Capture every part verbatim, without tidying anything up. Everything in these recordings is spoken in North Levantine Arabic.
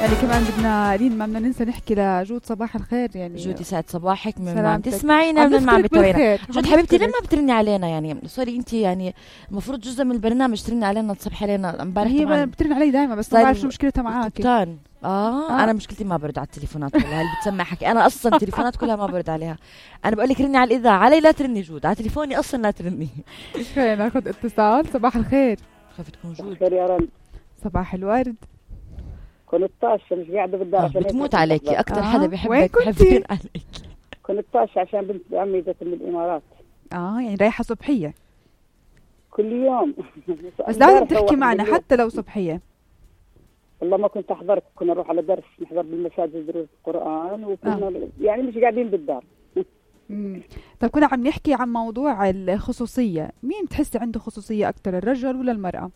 يعني كمان بدنا لين ما بدنا ننسى نحكي لجود صباح الخير. يعني جودي سعد صباحك من ما عم تسمعينا من ما عم بتابعينا. جود حبيبتي لما بترني علينا يعني سوري انت يعني المفروض جزء من البرنامج ترني علينا تصبحي علينا. امبارح هي بترن علي دائما بس ما بعرف شو مشكلتها معك. آه, اه انا مشكلتي ما برد على التليفونات والله اللي بتسمع حكي. انا اصلا التليفونات كلها ما برد عليها. انا بقول لك رني على الاذاعه علي لا ترني جود على تليفوني اصلا لا ترني. خلينا ناخذ اتصال. صباح الخير. خايفه تكون جود. خير يا رب. صباح الورد. كنت طاشة مش قاعدة بالدار عشان بتموت عليكي أكتر. آه. حدا بيحبك بحبين عليك. كنت طاشة عشان بنت عمي جت من الإمارات. اه يعني رايحة صبحية كل يوم. بس لازم تحكي معنا حتى لو صبحية. والله ما كنت أحضرك. كنا نروح على درس نحضر بالمساجد دروس القرآن وكنا آه. يعني مش قاعدين بالدار. امم طيب كنا عم نحكي عن موضوع الخصوصية. مين بتحسي عنده خصوصية أكتر الرجل ولا المرأة؟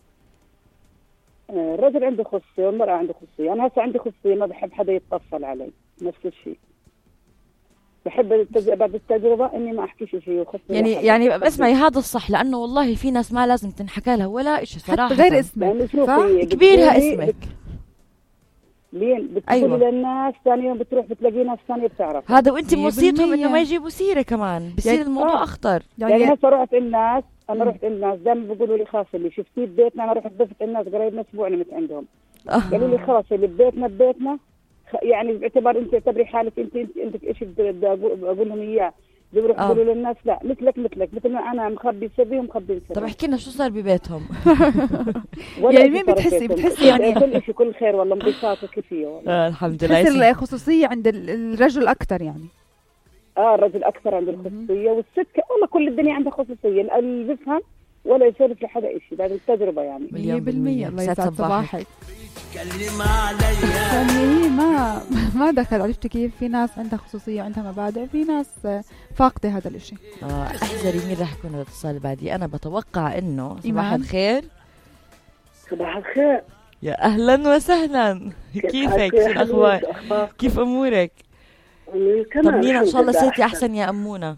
الرجل عنده خصوصية والمرأة عنده خصوصية. أنا هسه عندي خصوصية ما بحب حدا يتصل علي. نفس الشيء بحب التج... بعد التجربة إني ما أحكيش شيء. يعني يعني اسمعي هذا الصح لأنه والله في ناس ما لازم تنحكى لها ولا إشي صراحة غير اسمك يعني كبيرها اسمك لين بتقولي أيوة. للناس ثاني يوم بتروح بتلاقي ناس ثانية بتعرف هذا وانت موصيتهم إنه ما يجيبوا سيرة كمان بصير يعني الموضوع آه. أخطر. يعني, يعني هسه رحت الناس أنا رحت الناس دائما بيقولوا لي خلاص اللي شفتيه ببيتنا. أنا رحت ضفت الناس قريب من أسبوع نمت عندهم. قالوا لي خلاص اللي ببيتنا ببيتنا يعني باعتبار انت تعتبري حالك انت انت عندك ايش بدي اقول لهم اياه. بيروح يقولوا للناس لا مثلك مثلك مثل ما انا مخبي سري ومخبي سري. طب احكي لنا شو صار ببيتهم. يعني مين بتحسي بتحسي يعني كل شيء كل خير والله انبساط وكيفيه والله. آه الحمد لله. بتحسي الخصوصيه عند الرجل اكثر يعني. اه الرجل اكثر عنده الخصوصيه والست والله كل الدنيا عندها خصوصيه. اللي بيفهم ولا يسولف لحدا شيء بعد التجربه يعني. مية بالمية. الله يسعد صباحك. يعني هي ما ما دخل. عرفتي كيف في ناس عندها خصوصية عندها مبادئ في ناس فاقدة هذا الاشي. اه احذري مين راح يكون الاتصال بعدي. انا بتوقع انه صباح الخير. صباح الخير يا اهلا وسهلا. كيفك شو الاخبار كيف امورك؟ طمنينا ان شاء الله صرتي احسن يا امونه.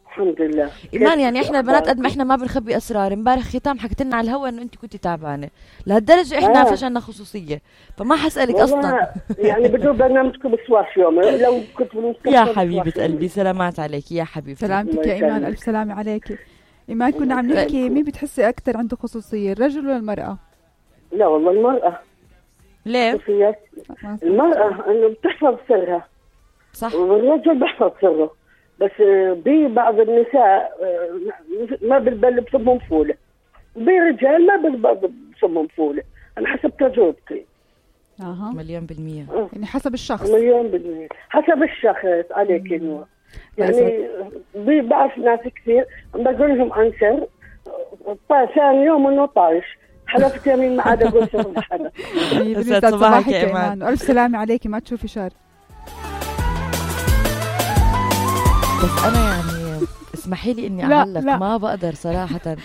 الحمد لله. إيمان يعني إحنا البنات قد ما إحنا ما بنخبي أسرار. امبارح ختام حكيت لنا على الهوا إنه أنت كنتي تعبانة لهالدرجة إحنا آه. فشلنا خصوصية فما حسألك أصلا. يعني بدون برنامجكم بسواش يوم لو كنت يا حبيبة قلبي سلامات عليك يا حبيبتي. سلامتك يا إيمان ألف سلامة عليك. إيمان كنا عم نحكي مين بتحسي أكتر عنده خصوصية الرجل ولا المرأة؟ لا والله المرأة. ليه؟ المرأة إنه بتحفظ سرها صح والرجل بيحفظ سره. بس ببعض النساء ما بالبل بصمهم فولة. برجال ما بالبل بصمهم فولة. أنا حسب تجربتي. أها مليون بالمية. أه. يعني حسب الشخص. مليون بالمية حسب الشخص عليك إنه يعني بعرف ناس كثير بقول لهم عن سر ثاني يوم إنه طايش حلفت يمين ما عاد أقول سر لحدا. يسعد صباحك يا إيمان وألف سلامة عليكي ما تشوفي شر. بس أنا يعني اسمحي لي إني أعلق ما بقدر صراحة.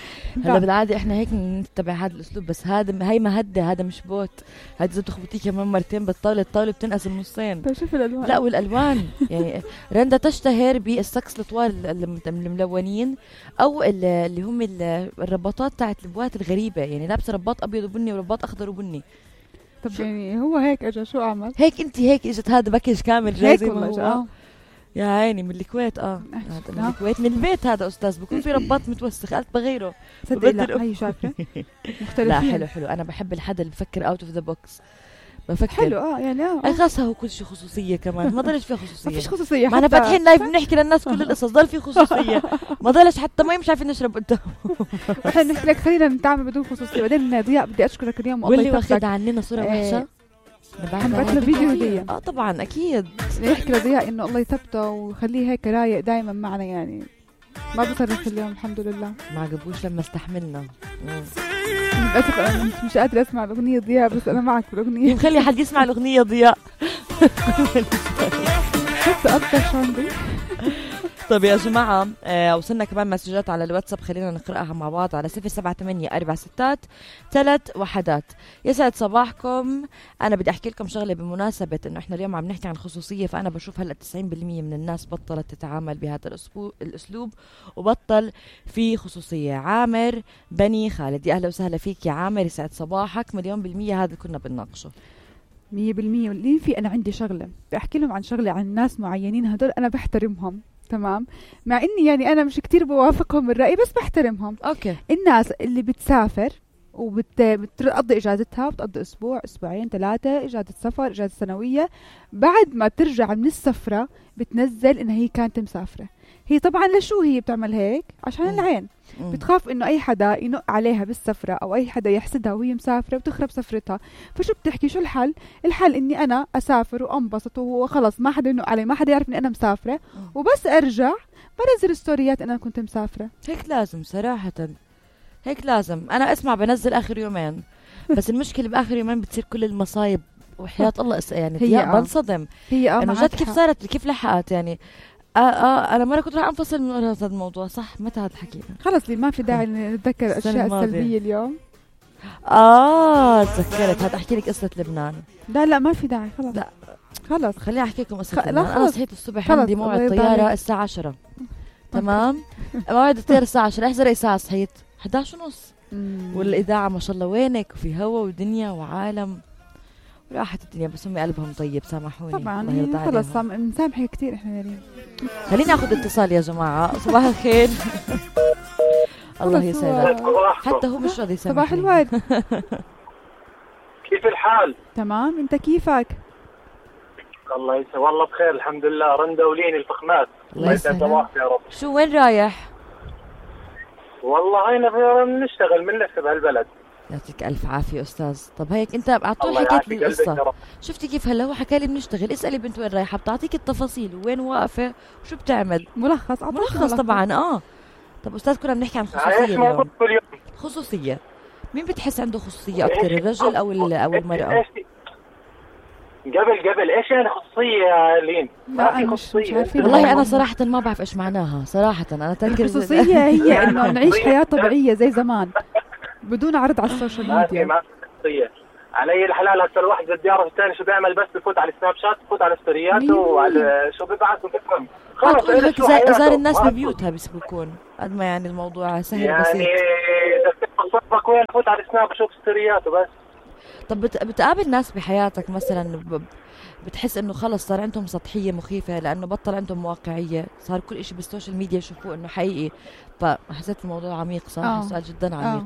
هلا بالعادة إحنا هيك نتبع هذا الأسلوب بس هذا هي مهدة هذا مش بوت. هذا إذا بتخبطيه كمان مرتين بالطاولة الطاولة بتنقسم نصين. طيب شوف الألوان. لا والألوان يعني رندا تشتهر بالسكس الطوال الملونين أو اللي هم الرباطات تاعت البوات الغريبة يعني لابسة رباط أبيض وبني ورباط أخضر وبني. طب يعني هو هيك أجا شو أعمل؟ هيك أنت هيك إجت هذا باكج كامل جاهز والله. يا عيني من الكويت اه من الكويت من البيت هذا استاذ بكون في رباط متوسخ قلت بغيره. صدق لا هي شايفه مختلفين. لا حلو حلو انا بحب الحدا اللي بفكر اوت اوف ذا بوكس بفكر حلو اه يعني اه اي خاصة هو كل شيء خصوصيه كمان ما ضلش فيها خصوصيه. ما فيش خصوصيه ما انا فاتحين لايف بنحكي للناس كل القصص ضل في خصوصيه ما ضلش حتى ما مش عارفين نشرب قدام. احنا نحكي لك خلينا نتعامل بدون خصوصيه. بعدين ضياء بدي اشكرك اليوم والله واخد عننا صوره وحشه. نبعث له فيديو هدية. اه طبعا اكيد يحكي لضياء انه الله يثبته وخليه هيك رايق دائما معنا يعني ما بصرف اليوم الحمد لله. ما عجبوش لما استحملنا. للاسف انا مش قادره اسمع الاغنيه ضياء بس انا معك بالاغنيه. خلي حد يسمع الاغنيه ضياء. حتى اكثر شاندي. طيب يا جماعة آه وصلنا كمان مسجات على الواتساب خلينا نقرأها مع بعض على صفر سبعة ثمانية أربعة ستات ثلاث وحدات. يسعد صباحكم. أنا بدي أحكي لكم شغلة بمناسبة إنه إحنا اليوم عم نحكي عن خصوصية. فأنا بشوف هلأ تسعين بالمية من الناس بطلت تتعامل بهذا الأسلوب وبطل في خصوصية. عامر بني خالد يا أهلا وسهلا فيك يا عامر يسعد صباحك. مليون بالمية هذا كنا بنناقشه. مية بالمية. لين في أنا عندي شغلة بحكي لهم عن شغلة عن ناس معينين هدول أنا بحترمهم تمام، مع إني يعني أنا مش كتير بوافقهم الرأي بس بحترمهم. اوكي. الناس اللي بتسافر وبتقضي إجازتها، بتقضي أسبوع أسبوعين ثلاثة إجازة سفر إجازة سنوية، بعد ما ترجع من السفرة بتنزل إنها هي كانت مسافرة. هي طبعا لشو هي بتعمل هيك؟ عشان مم. العين. مم. بتخاف إنه أي حدا ينق عليها بالسفرة أو أي حدا يحسدها وهي مسافرة وتخرب سفرتها. فشو بتحكي؟ شو الحل؟ الحل إني أنا أسافر وأنبسط وخلص ما حدا ينق علي، ما حدا يعرف إني أنا مسافرة، مم. وبس أرجع بنزل ستوريات إن أنا كنت مسافرة. هيك لازم صراحة، هيك لازم. أنا أسمع بنزل آخر يومين، بس المشكلة بآخر يومين بتصير كل المصايب وحياة الله اس- يعني هي هي آه. بنصدم هي آه إنه معك جد كيف حق. صارت، كيف لحقت يعني. آه آه أنا مرة كنت راح أنفصل من هذا الموضوع. صح، متى هذا الحكي؟ خلص لي ما في داعي نتذكر السنة الأشياء الماضية. السلبية اليوم. آه تذكرت، هذا أحكي لك قصة لبنان. لا لا ما في داعي خلص. لا. خلص خليني أحكي لكم قصة خ- لا لبنان. أنا خلص. صحيت الصبح خلص، عندي الله موعد يرضى طيارة عليك. الساعة عشرة. تمام. موعد الطيارة الساعة عشرة. احذر أي ساعة صحيت؟ إحدى عشر ونص. مم. والإذاعة ما شاء الله وينك، وفي هوا ودنيا وعالم وراحت الدنيا، بس هم قلبهم طيب سامحوني. طبعا الله يرضى هي خلص عليهم. سام- مسامحة كتير احنا يا ريم. خليني اخذ اتصال يا جماعة. صباح الخير. الله خلص يسعدك. هو- حتى هو مش راضي يسامحني. صباح الورد. كيف الحال؟ تمام، انت كيفك؟ الله يسعدك. والله بخير الحمد لله. رندا ولين الفخمات. الله يسعد يسعدك. صباحك يا رب. شو وين رايح؟ والله هينا بنشتغل بنلف بهالبلد. يعطيك الف عافية استاذ. طب هيك انت على طول الله حكيت يعافي لي قلبك يا القصة. رب. شفتي كيف هلا هو حكى لي بنشتغل. اسألي بنت وين رايحة، بتعطيك التفاصيل وين واقفة وشو بتعمل. ملخص أعطاك ملخص طبعا. اه طب استاذ كنا بنحكي عن ايش خصوصية موضوع اليوم. كل يوم؟ خصوصية. مين بتحس عنده خصوصية أكثر، الرجل أو ال- أو المرأة؟ إيش- قبل قبل ايش يعني خصوصية يا لين؟ لا، ما في أنا مش- مش خصوصية. عارفين. والله أنا صراحة ما بعرف إيش معناها صراحة. أنا تذكر الخصوصية هي إنه نعيش حياة طبيعية زي زمان بدون عرض على السوشيال ما في ميديا. ما في خصوصية. علي الحلال هسه الواحد بده يعرف الثاني شو بيعمل، بس بفوت على السناب شات، بفوت على ستورياته مية وعلى شو ببعث وبفهم. ما خلص تقول إيش هيك شو زي حياته. زار الناس ما ببيوتها بس بكون قد ما يعني الموضوع سهل يعني بسيط. اذا بتعرف صاحبك وين، فوت على السناب شوف ستورياته بس. طب بت- بتقابل ناس بحياتك مثلا ب- بتحس انه خلص صار عندهم سطحية مخيفة لانه بطل عندهم واقعية، صار كل اشي بالسوشيال ميديا يشوفوه انه حقيقي. فحسيت الموضوع عميق صراحة. آه. سؤال جدا آه. عميق.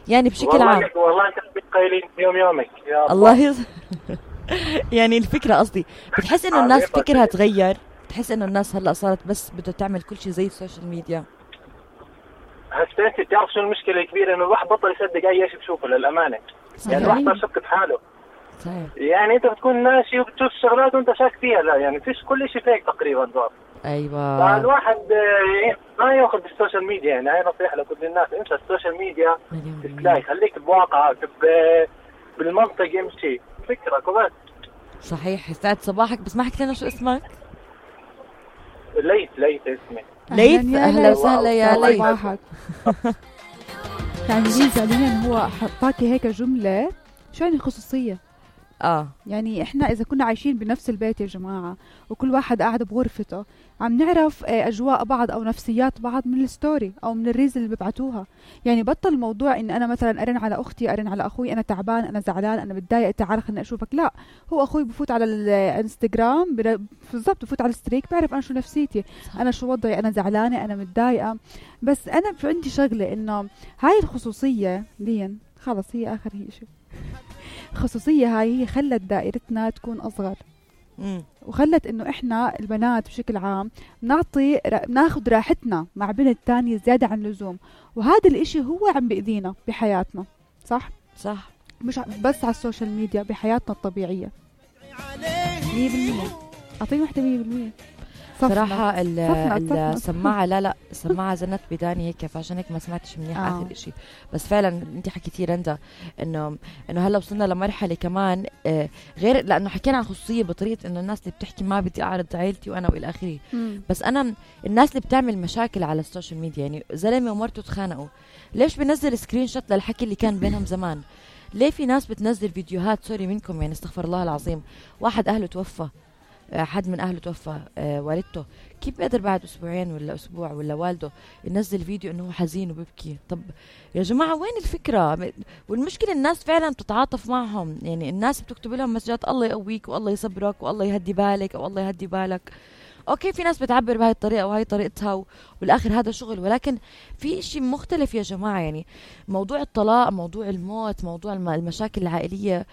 يعني بشكل والله عام والله انت قايلين يوم يومك يا الله يز... يعني الفكرة قصدي بتحس انه الناس عميقة. فكرها تغير، بتحس انه الناس هلا صارت بس بدها تعمل كل شيء زي السوشيال ميديا. هسه انت بتعرف شو المشكله الكبيره؟ انه الواحد بطل يصدق اي شيء بشوفه للامانه. يعني الواحد صار شك بحاله. صحيح. يعني انت بتكون ماشي وبتشوف شغلات وانت شاك فيها، لا يعني فيش كل شيء فيك تقريبا صار. ايوه. فالواحد آه، ما ياخذ بالسوشيال ميديا. يعني هاي نصيحه لكل الناس، انسى السوشيال ميديا، مليون بالمية. تلاقي خليك بواقعك ب- بالمنطق امشي فكرك وبس. صحيح. يسعد صباحك. بس ما حكيت لنا شو اسمك. ليث ليث اسمي. ليث. يا اهلا ليث. وسهلا يا الله ليث. يسعدك. صباحك. يعني ليه فعليا هو حطاكي هيك جملة. شو يعني خصوصية؟ اه يعني احنا اذا كنا عايشين بنفس البيت يا جماعة وكل واحد قاعد بغرفته عم نعرف آه، اجواء بعض او نفسيات بعض من الستوري او من الريز اللي ببعتوها. يعني بطل موضوع ان انا مثلا ارن على اختي، ارن على اخوي، انا تعبان، انا زعلان، انا متضايق، تعال خليني اشوفك. لا، هو اخوي بفوت على الانستغرام بر- بالضبط بفوت على الستريك بعرف انا شو نفسيتي، انا شو وضعي، انا زعلانة، انا متضايقة. بس انا في عندي شغلة انه هاي الخصوصية لين خلص هي اخر هي شيء. الخصوصية هاي هي خلت دائرتنا تكون أصغر، امم وخلت إنه إحنا البنات بشكل عام نعطي را- ناخد راحتنا مع بنت تانية زيادة عن اللزوم، وهذا الإشي هو عم بإذينا بحياتنا. صح؟ صح. مش ع- بس على السوشيال ميديا، بحياتنا الطبيعية. مية بالمية. أعطيني واحدة مية بالمية. صفنا. صراحة ال- صفنا- ال- صفنا. السماعة لا لا السماعة زنت بداني هيك، فعشان هيك ما سمعتش منيح آه. آخر إشي. بس فعلا انت حكيتي رندا انه انه هلا وصلنا لمرحلة كمان آه غير لانه حكينا عن خصوصية بطريقة انه الناس اللي بتحكي ما بدي اعرض عائلتي وانا والى اخره. مم. بس انا الناس اللي بتعمل مشاكل على السوشيال ميديا، يعني زلمة ومرته تخانقوا، ليش بنزل سكرين شوت للحكي اللي كان بينهم زمان؟ ليه في ناس بتنزل فيديوهات سوري منكم يعني استغفر الله العظيم، واحد اهله توفى حد من أهله توفى، آه والدته، كيف بيقدر بعد أسبوعين ولا أسبوع ولا والده ينزل فيديو إنه هو حزين وببكي؟ طب يا جماعة وين الفكرة؟ والمشكلة الناس فعلا بتتعاطف معهم، يعني الناس بتكتب لهم مسجات الله يقويك والله يصبرك والله يهدي بالك أو الله يهدي بالك. اوكي في ناس بتعبر بهاي الطريقه وهي طريقتها و... والاخر هذا شغل، ولكن في اشي مختلف يا جماعه. يعني موضوع الطلاق، موضوع الموت، موضوع الم... المشاكل العائليه،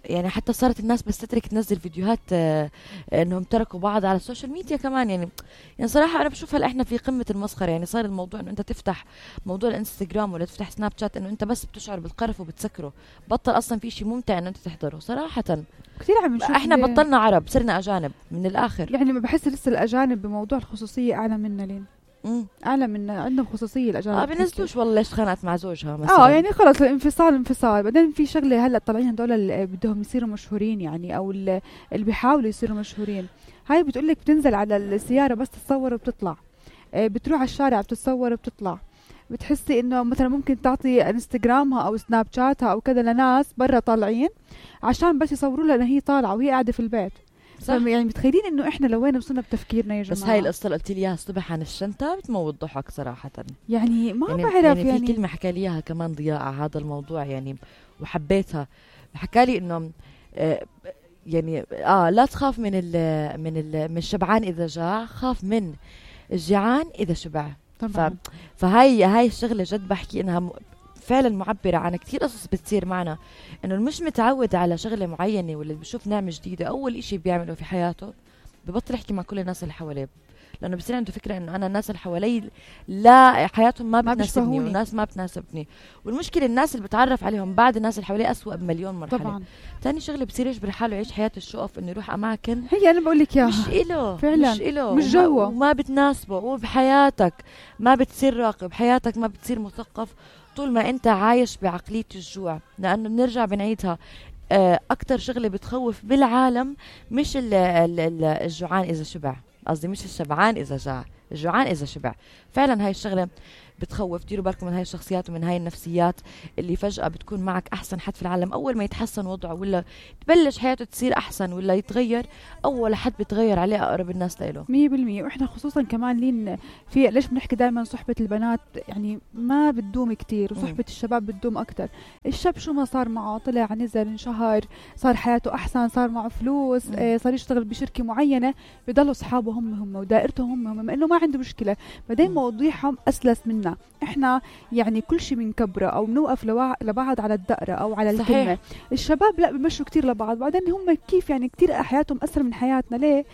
يعني حتى صارت الناس بس تترك تنزل فيديوهات آه انهم تركوا بعض على السوشيال ميديا كمان. يعني يعني صراحه انا بشوف هلا احنا في قمه المسخره. يعني صار الموضوع انه انت تفتح موضوع الانستغرام ولا تفتح سناب شات انه انت بس بتشعر بالقرف وبتسكره، بطل اصلا في شيء ممتع انه انت تحضره صراحه. كثير عم نشوف احنا بطلنا عرب صرنا اجانب من الاخر. يعني ما بحس لسه الاجانب بموضوع الخصوصيه اعلى منا لين امم اعلى من عندهم خصوصيه الاجانب. اه بنزلوش والله ليش تخانقت مع زوجها مثلا. اه يعني خلص الانفصال انفصال. بعدين في شغله هلا طالعين هدول اللي بدهم يصيروا مشهورين، يعني او اللي بيحاولوا يصيروا مشهورين، هاي بتقول لك بتنزل على السياره بس تتصور وبتطلع، آه بتروح على الشارع بتتصور وبتطلع. بتحسي انه مثلا ممكن تعطي انستغرامها او سناب شاتها او كذا لناس برا طالعين عشان بس يصوروا لها انها هي طالعه وهي قاعده في البيت. يعني متخيلين انه احنا لوين وصلنا بتفكيرنا يا جماعه؟ بس هاي القصه اللي قلت لي اياها الصبح عن الشنطه بتموت ضحك صراحه. يعني ما يعني بعرف يعني, يعني في كلمه حكى لي اياها كمان ضياء على هذا الموضوع يعني وحبيتها. حكى لي انه آه يعني اه لا تخاف من ال من ال من الشبعان اذا جاع، خاف من الجيعان اذا شبع. طبعا. فهاي هاي الشغله جد بحكي انها م... فعلا معبرة عن كتير قصص بتصير معنا. انه مش متعود على شغلة معينة ولا بشوف نعمة جديدة اول اشي بيعمله في حياته ببطل يحكي مع كل الناس اللي حواليه، لانه بصير عنده فكرة انه انا الناس اللي حوالي لا حياتهم ما بتناسبني والناس ما بتناسبني. والمشكلة الناس اللي بتعرف عليهم بعد الناس اللي حواليه اسوأ بمليون مرحلة. طبعا. تاني شغلة بصير يجبر حاله يعيش حياة الشقف، انه يروح اماكن هي انا بقول لك اياها مش إله فعلا مش إله مش جوه وما بتناسبه. وبحياتك ما بتصير راقب، حياتك ما بتصير مثقف طول ما انت عايش بعقلية الجوع. لانه بنرجع بنعيدها اكتر شغلة بتخوف بالعالم مش ال ال ال الجوعان اذا شبع، قصدي مش الشبعان اذا جاع، الجوعان اذا شبع. فعلا هاي الشغلة بتخوف. ديروا بالكم من هاي الشخصيات ومن هاي النفسيات اللي فجأة بتكون معك أحسن حد في العالم، أول ما يتحسن وضعه ولا تبلش حياته تصير أحسن ولا يتغير أول حد بتغير عليه أقرب الناس له مية بالمية. وإحنا خصوصا كمان لين في ليش بنحكي دائما صحبة البنات يعني ما بتدوم كتير وصحبة م. الشباب بتدوم أكتر. الشاب شو ما صار معه طلع نزل انشهر صار حياته أحسن صار معه فلوس آه صار يشتغل بشركة معينة بيضلوا أصحابه هم هم ودائرتهم هم هم إنه ما عنده مشكلة. بعدين مواضيعهم أسلس منا. احنا يعني كل شيء بنكبره او بنوقف لوا... لبعض على الدقره او على الكلمه. صحيح. الشباب لا بمشوا كتير لبعض. بعدين هم كيف يعني كتير حياتهم اسهل من حياتنا. ليه؟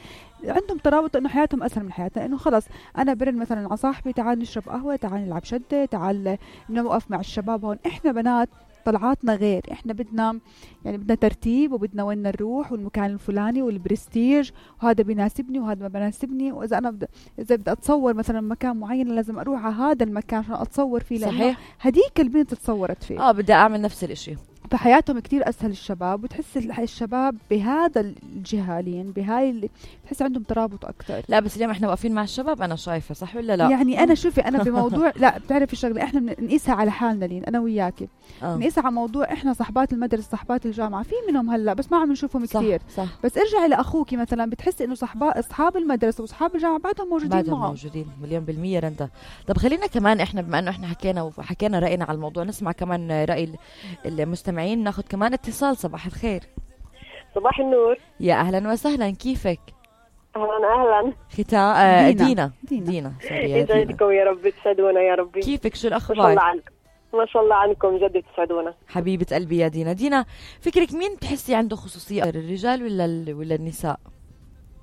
عندهم ترابط انه حياتهم اسهل من حياتنا، انه خلص انا برن مثلا على صاحبي تعال نشرب قهوه تعال نلعب شده تعال نوقف مع الشباب هون. احنا بنات طلعاتنا غير، احنا بدنا يعني بدنا ترتيب وبدنا وين نروح والمكان الفلاني والبرستيج وهذا بيناسبني وهذا ما بيناسبني. واذا انا بدأ اذا بدي اتصور مثلا مكان معين لازم اروح على هذا المكان عشان اتصور فيه. صحيح. هديك البنت تصورت فيه اه بدي اعمل نفس الاشي. فحياتهم كتير اسهل الشباب. وتحس الشباب بهذا الجهالين بهاي اللي تحس عندهم ترابط اكثر. لا بس اليوم احنا واقفين مع الشباب انا شايفه صح ولا لا؟ يعني انا شوفي انا بموضوع لا بتعرفي شغله احنا بنقيسها على حالنا لين انا وياكي آه. نقيسها على موضوع احنا صحبات المدرسه صحبات الجامعه في منهم هلا بس ما عم نشوفهم كثير. بس ارجعي لاخوكي مثلا بتحسي انه صحبات اصحاب المدرسه واصحاب الجامعه بعدهم موجودين بعدهم معه. موجودين مليون بالمية رندا. طب خلينا كمان احنا بما انه احنا حكينا وحكينا راينا على الموضوع نسمع كمان راي المستمعين. ناخذ كمان اتصال. صباح الخير. صباح النور. يا اهلا وسهلا كيفك؟ اهلا اهلا. ختا آه دينا دينا, دينا. دينا. يسعدكم يا رب تسعدونا يا ربي. كيفك شو الاخبار؟ ما شاء الله عنكم ما شاء الله عنكم جد تسعدونا حبيبه قلبي يا دينا. دينا فكرك مين بتحسي عنده خصوصيه الرجال ولا ولا النساء؟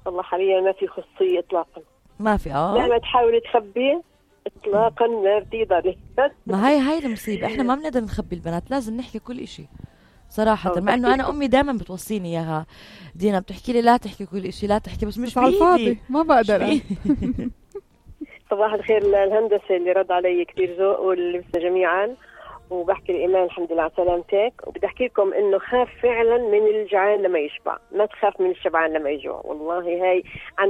والله حاليا ما في خصوصيه اطلاقا. ما في اه مهما تحاول تخبي اطلاقا ما بتقدري. ما هي هاي المصيبه. احنا ما بنقدر نخبي البنات لازم نحكي كل إشي صراحة. مع انه انا امي دائما بتوصيني اياها دينا بتحكي لي لا تحكي كل إشي لا تحكي بس مش بايدي ما بقدر. صباح الخير. الهندسة اللي رد علي كثير ذوق واللبسة جميعا. وبحكي لإيمان الحمد لله على سلامتك. وبدي احكي لكم انه خاف فعلا من الجعان لما يشبع ما تخاف من الشبعان لما يجوع. والله هاي عن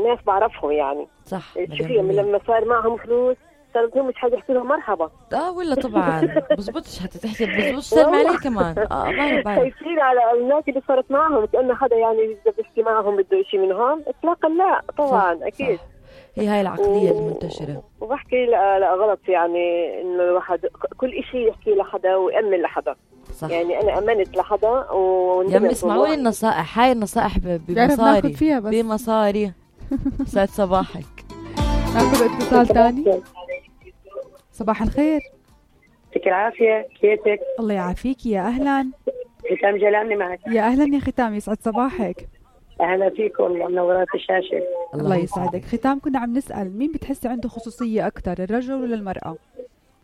ناس بعرفهم يعني صح. شوفي لما صار معهم فلوس صارت هم مش حد يحكي لهم مرحبا. اه ولا طبعا بزبطش حتى تحكي بزبطش سلم عليه كمان. اه بعرف بعرف خايفين على الناس اللي صارت معهم كأنه حدا يعني إذا بيحكي معهم بده شيء منهم إطلاقا لا طبعا. صح أكيد صح. هي هاي العقلية و... المنتشرة. وبحكي لا لا غلط يعني إنه الواحد كل إشي يحكي لحدا ويأمن لحدا. صح. يعني أنا أمنت لحدا و يا اسمعوا لي النصائح. هاي النصائح بمصاري بمصاري. سعد صباحك. ناخذ اتصال ثاني. صباح الخير. يعطيك العافية، كيفك؟ الله يعافيك. يا أهلا. ختام جلالني معك. يا أهلا يا ختام، يسعد صباحك. أهلا فيك والله، منورات الشاشة. الله يسعدك. ختام كنا عم نسأل مين بتحسي عنده خصوصية أكثر، الرجل ولا المرأة؟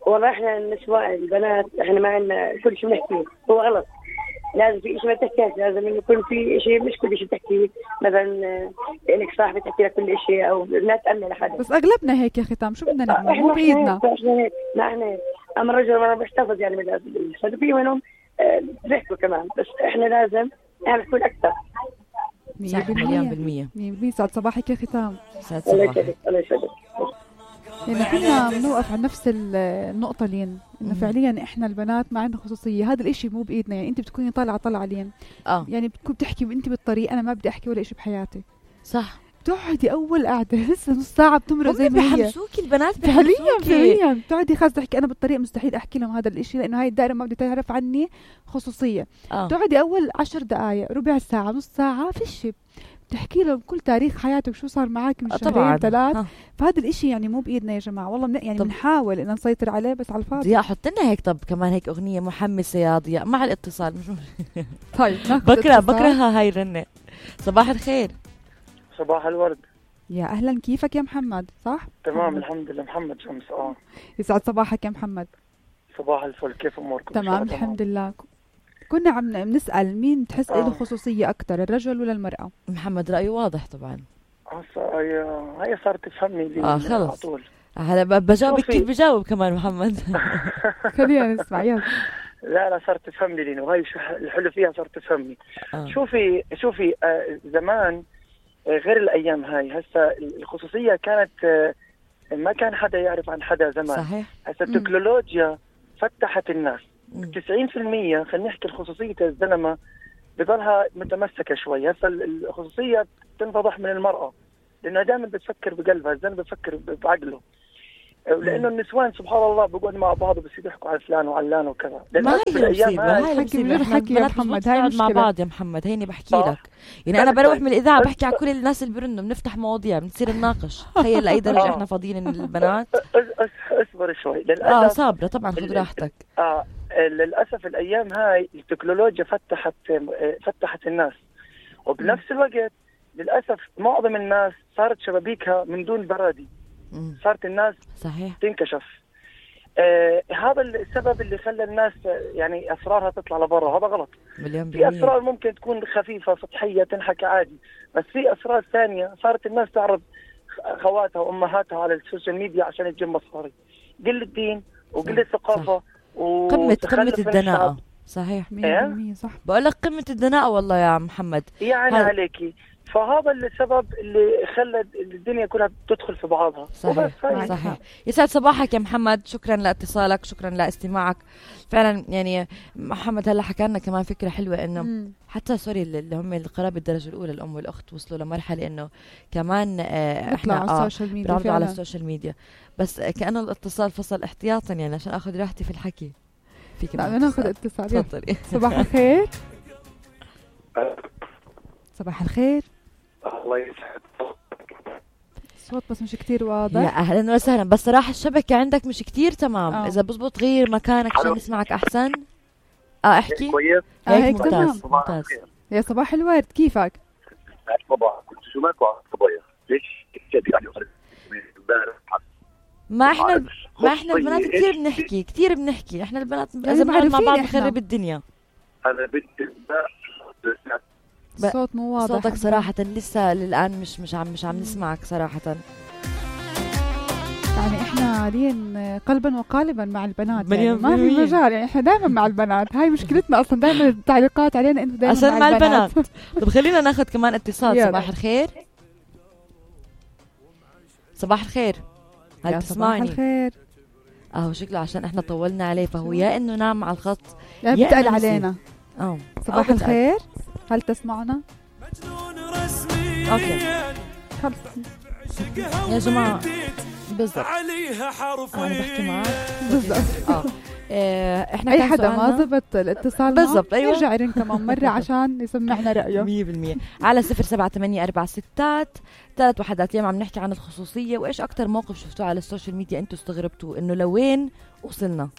والله إحنا النسوان البنات إحنا ما عندنا كل شيء بنحكيه، هو غلط. لازم في شيء ما تحكيش، لازم يكون في شيء مش كل شيء تحكيه، مثلا لك صاحبة تحكي لك كل شيء أو لا تأمن لحدا. بس أغلبنا هيك يا ختام، شو بدنا نعمل؟ مو بإيدنا. إحنا هيك، ما إحنا هيك. أما الرجل ما بيحتفظ يعني من في منهم بيحكوا كمان، بس إحنا لازم نعمل كل أكثر. صح مليون بالمية. مية بالمية. سعد صباحك يا ختام. سعد صباحك. الله يسعدك. يعني كنا بنوقف على نفس النقطة لين إنه فعليا إحنا البنات ما عندنا خصوصية، هذا الإشي مو بإيدنا. يعني أنت بتكوني طالعة طلعة لين آه. يعني بتكون بتحكي وأنت بالطريق، أنا ما بدي أحكي ولا إشي بحياتي. صح. بتقعدي أول قعدة لسه نص ساعة بتمرق زي ما هي. بحمسوكي البنات فعليا فعليا بتقعدي خاص تحكي أنا بالطريق مستحيل أحكي لهم هذا الإشي لأنه هاي الدائرة ما بدي تعرف عني خصوصية. آه. بتقعدي أول عشر دقايق ربع ساعة نص ساعة في شيء بتحكي لهم كل تاريخ حياتك شو صار معك من شهرين ثلاث. فهذا الاشي يعني مو بايدنا يا جماعه والله من يعني بنحاول ان نسيطر عليه بس على الفاضي. ضياء حط لنا هيك طب كمان هيك اغنيه محمسه يا ضياء مع الاتصال. مش طيب بكره بكرهها هاي الرنه. صباح الخير. صباح الورد. يا اهلا كيفك يا محمد؟ صح تمام محمد. الحمد لله. محمد شمس. اه يسعد صباحك يا محمد. صباح الفل، كيف اموركم؟ تمام الحمد لله. كنا عم نسأل مين تحس له خصوصية أكتر، الرجل ولا المرأة؟ محمد رأيه واضح طبعا. هي هي صارت تفهمني لي اه خلص على طول. هلا بجاوبك كيف بجاوب كمان محمد. خلينا نسمع يلا. لا لا صارت تفهمني لي وهي الحلو فيها صارت تفهمني. آه. شوفي شوفي آه زمان آه غير الأيام هاي. هسه الخصوصية كانت آه ما كان حدا يعرف عن حدا زمان. صحيح. هسه التكنولوجيا فتحت الناس. تسعين بالمية خلينا نحكي الخصوصية الزلمة بضلها متمسكة شوي. هسه الخصوصية تنفضح من المرأة لأنها دائما بتفكر بقلبها، الزلمة بتفكر بعقله. لأنه النسوان سبحان الله بيقعدوا مع بعض بس يضحكوا على فلان وعلان وكذا. ما هي مصيبة، هاي المصيبة. احنا بنات محمد هاي مع بعض يا محمد. هيني بحكي لك يعني أنا بروح من الإذاعة بحكي على كل الناس اللي بيرنوا، بنفتح مواضيع بنصير نناقش. تخيل لأي درجة احنا فاضيين البنات. اصبر شوي. اه صابرة طبعا خذ راحتك. اه للأسف الأيام هاي التكنولوجيا فتحت فتحت الناس، وبنفس الوقت للأسف معظم الناس صارت شبابيكها من دون برادي. صارت الناس صحيح تنكشف. آه هذا السبب اللي خلى الناس يعني أسرارها تطلع لبرا. هذا غلط. في أسرار ممكن تكون خفيفة سطحية تنحكى عادي، بس في أسرار ثانية صارت الناس تعرض خواتها وأمهاتها على السوشيال ميديا عشان تجيب مصاري. قلة الدين وقلة الثقافة قمة قمة الدناءة. صحيح مية بالمية صح. بقول لك قمة الدناءة والله يا محمد. يعني هل... عليكي. فهذا السبب اللي خلى الدنيا كلها تدخل في بعضها. صحيح صحيح. يسعد صباحك يا محمد، شكرا لاتصالك، شكرا لاستماعك. فعلا يعني محمد هلا حكى لنا كمان فكرة حلوة انه مم. حتى سوري اللي هم القرابة الدرجة الأولى الأم والأخت وصلوا لمرحلة انه كمان آه احنا على السوشيال ميديا بنعرضوا على السوشيال ميديا، بس كأنه الاتصال فصل احتياطا يعني عشان اخذ راحتي في الحكي. فيك لا ناخذ اتصال. تفضلي. صباح الخير. صباح الخير. الله يسعد الصوت بس مش كتير واضح. يا اهلا وسهلا، بس صراحه الشبكه عندك مش كتير تمام. أوه. اذا بزبط غير مكانك عشان نسمعك احسن. اه احكي كويس. آه هيك ممتاز تمام. ممتاز. يا صباح الورد كيفك؟ صباح كنت شو ماكو على الصبايا ليش يعني ما احنا ما احنا البنات كثير بنحكي كثير بنحكي احنا البنات اذا بنقعد مع بعض بنخرب الدنيا. انا بدي الصوت مو واضح. صوتك صراحة لسه للآن مش مش عم مش عم نسمعك صراحة. يعني احنا لين قلبا وقالبا مع البنات يعني ما في مجال، يعني احنا دائما مع البنات. هاي مشكلتنا اصلا، دائما التعليقات علينا انه دائما عشان مع, مع البنات, البنات. طب خلينا ناخذ كمان اتصال. صباح الخير. صباح الخير. هل يا تسمعني؟ صباح الخير. اهو شكله عشان احنا طولنا عليه فهو يا انه نام على الخط يا بتقل علينا. اه صباح الخير، هل تسمعنا؟ اوكي خلص يا جماعة بالضبط انا بحكي معك بالضبط. اه إيه، احنا اي حدا ما زبط الاتصال بالضبط ايوه يرجع يرن كمان مرة عشان يسمعنا رأيه مية بالمية على صفر سبعة ثمانية أربعة ستات ثلاث وحدات. اليوم عم نحكي عن الخصوصية وايش اكتر موقف شفتوه على السوشيال ميديا انتوا استغربتوا انه لوين وصلنا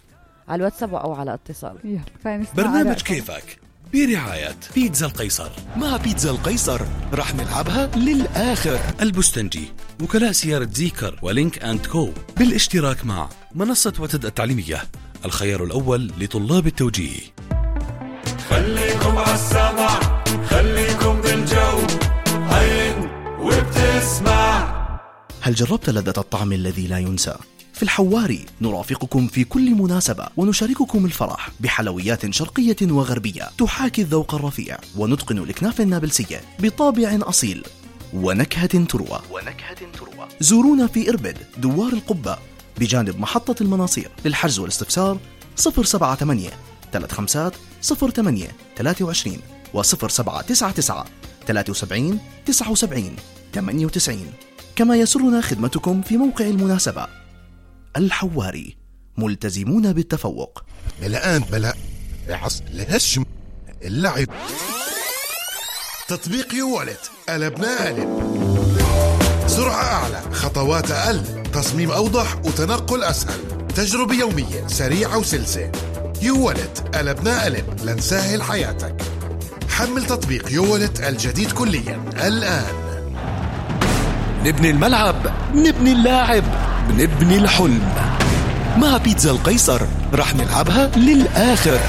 على الواتساب او على اتصال. يلا خلينا نسمع. برنامج كيفك برعاية بيتزا القيصر. مع بيتزا القيصر رح نلعبها للآخر. البستنجي، وكلاء سيارة زيكر ولينك أند كو بالاشتراك مع منصة وتد التعليمية، الخيار الأول لطلاب التوجيه. خليكم عالسمع، خليكم بالجو، هين وبتسمع. هل جربت لذة الطعم الذي لا ينسى؟ في الحواري نرافقكم في كل مناسبة ونشارككم الفرح بحلويات شرقية وغربية تحاكي الذوق الرفيع ونتقن الكنافة النابلسية بطابع أصيل ونكهة تروى. ونكهة تروى. زورونا في إربد دوار القبة بجانب محطة المناصير. للحجز والاستفسار صفر سبعة ثمانية ثلاثة خمسة صفر ثمانية ثلاثة وعشرين وصفر سبعة تسعة تسعة ثلاثة وسبعين تسعة وسبعين ثمانية وتسعين. كما يسرنا خدمتكم في موقع المناسبة. الحواري، ملتزمون بالتفوق. الآن بلا عص الهشم اللعب. تطبيق يوالت قلبنا قلب. سرعة أعلى، خطوات أقل، تصميم أوضح وتنقل أسهل، تجربة يومية سريعة وسلسة. يوالت قلبنا قلب لنسهل حياتك. حمل تطبيق يوالت الجديد كليا الآن. نبني الملعب، نبني اللاعب، بنبني الحلم. مع بيتزا القيصر رح نلعبها للآخر.